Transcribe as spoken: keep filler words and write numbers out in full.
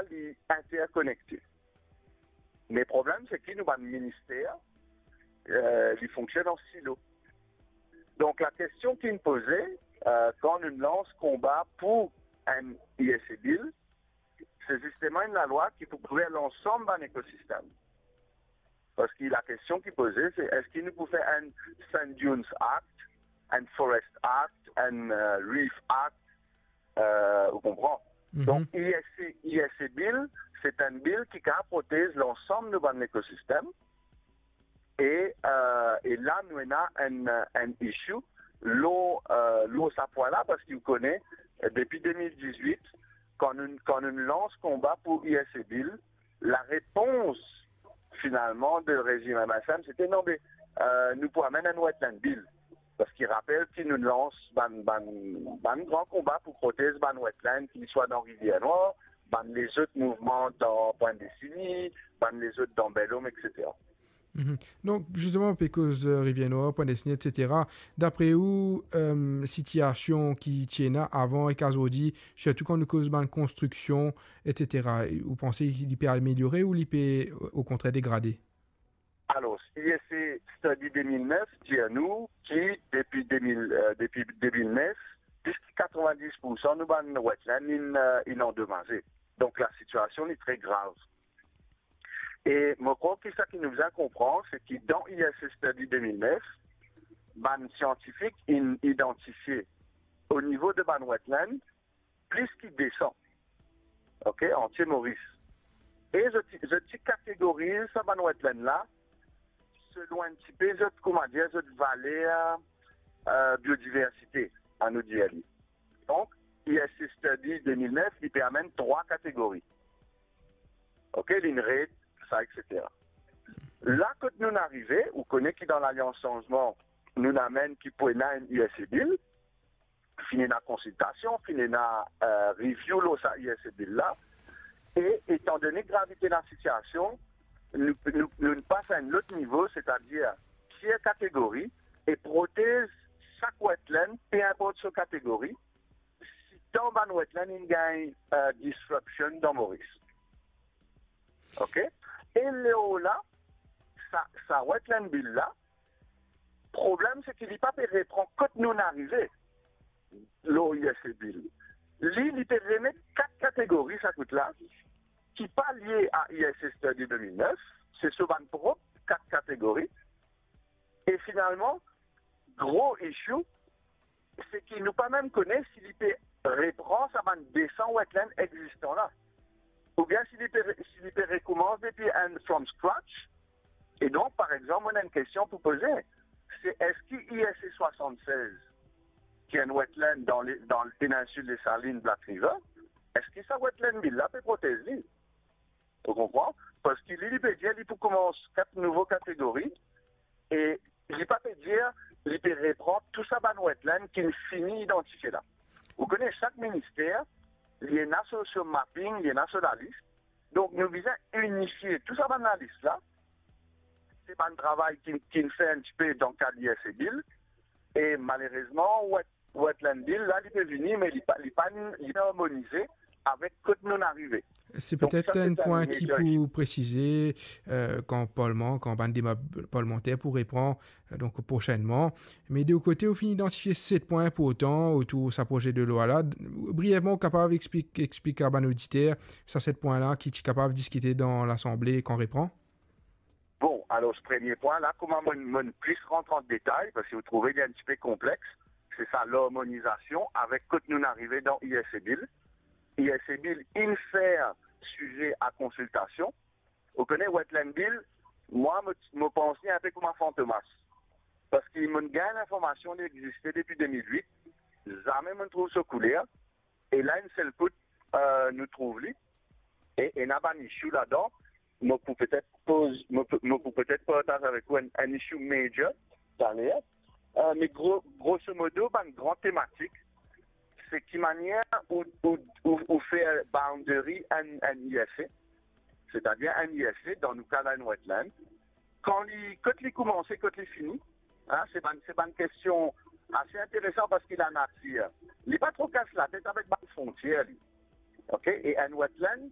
li interkonekte. Me problem se ki nou bann minister, eh, li fonksionn an silo. Donk, lakestion ki'nn poze, eh, kan nou lans konba pou enn I S A Bill, se zisteman enn lalwa ki pou kouver lansam bann ekosistem. Parski lakestion ki poze, se eski nou pou fer enn Sand Dunes Act, enn Forest Act, enn, eh, Reef Act, eh, ou konpran? Mhm. Donk, I S A, I S A Bill, se enn bill ki kapav protez lansam nou bann ekosistem. E, eh, e la, nou ena enn, enn issue lor, eh, lor sa pwin la, parski ou kone, eh, depi de mil dizwit, kan nou, kan nou lans konba pou I S A Bill, larepons, finalman, de rezim M S M, se te, "Non, be, eh, nou pou amenn enn Wetland Bill." Parski rapel ki nou lans bann, bann, bann gran konba pou protez bann wetland, ki swa dan Rivier Nwar, bann lezot mouvman dan Pointe Destinie, bann lezot dan Bel Ombre, et cetera. Mhm. Donk, zisteman, pe koz, eh, Rivier Nwar, Pointe Destinie, et cetera. Dapre ou, eh, sitiasion ki ti ena avan ek azordi, sirtou kan nou koz bann konstriksion, et cetera, ou panse li pe ameliore ou li pe, o kontrer, degrade? Alor, I S A Study de mil nef dir nou ki depi de mil, eh, depi de mil nef, plis ki katrevin-dis poursan nou bann wetland inn, eh, inn andomaze. Donk, lasitiasion li tre grav. E mo krwar ki sa ki nou bizin konpran, se ki dan I S A Study de mil nef, bann siantifik inn idantifie o nivo de bann wetland plis ki de san, ok, antie Moris. E zot ti, zot ti kategoriz sa bann wetland la selon enn tipe zot, koumadir, zot valer, eh, biodiversite, anou dir li. Donk, I S A Study de mil nef, li pe amenn trwa kategori. Ok, ligne red, sa, et cetera. La kot nou arive, ou kone ki dan Lalians Sanzman, nou amenn ki pou ena enn I S A Bill, finn ena konsiltasion, finn ena, eh, review lor sa I S A Bill la, e etandone gravite lasitiasion, nou, nou, nou pas a enn lot nivo, setadir tier kategori, e protez sak wetland, pe inport so kategori, sitan bann wetland inn gagn, eh, disruption dan Moris. Ok? E lor la, sa, sa Wetland Bill la, problem se ki li pa pe repran kot nou arive lor I S A Bill. Li, li pe remet kat kategori sa kout la, ki pa lie a I S A Study de mil nef, se so bann prop kat kategori. E finalman, gro issue, se ki nou pa mem kone si li pe repran sa bann de san wetland existan la, oubien si li pe re-, si li pe rekoumans depi enn from scratch. E donk, par exanp, mo ena enn kestion pou poze, se eski I S A swasann-sez, ki enn wetland dan le, dan le peninsil Desalinn, Black River, eski sa Wetland Bill la pe protez li? Ou konpran? Parski li, li pe dir li pou koumans kat nouvo kategori, e li pa pe dir li pe repran tou sa bann wetland ki finn idantifie la. Ou kone, sak minister, li ena so, so mapping, li ena so lalis. Donk, nou bizin inifie tou sa bann lalis la. Se bann travay ki, ki finn fer enn tipe dan kad I S A Bill. E malerezman, wet-, Wetland Bill la, li pe vini, me li pa, li pa, li pa armonize avek kot nou arive. Se petet enn pwin ki pou presize, eh, kan parlman, kan bann deba parlmanter pou repran, eh, donk prosennman. Me de ou kote, ou finn idantifie set pwin inportan otour sa proze de lwa la. Brievman, ou kapav explik, explik a bann oditer sa set pwin la ki ti kapav diskite dan Lasanble kan repran? Bon, alor, premie pwin la, kouma mo, mo plis rant an detay, parski ou trouve li enn tipe konplex, se sa larmonizasion avek kot nou arive dan I S A Bill. I S A Bill inn fer size a konsiltasion. Ou kone, Wetland Bill, mwa, mo, mo pans li enpe kouma fantomas. Parski mo gagn linformasion li existe depi de mil wit, zame mo trouv so kouler, e la, enn sel kout, eh, nou trouv li, e ena bann issue ladan, mo pou petet poz, mo pou, mo pou petet partaz avek ou enn, enn issue major taler. Eh, me gro-, grosso modo, bann gran tematik, se ki manier ou, ou, ou, ou fer boundary enn, enn I S A, setadir enn I S A, dan nou ka la, enn wetland, kan li, kot li koumanse, kot li fini, hein, se bann, se bann kestion ase interesan parski lanatir, li pa tro kas latet avek bann frontier li. Ok? E enn wetland,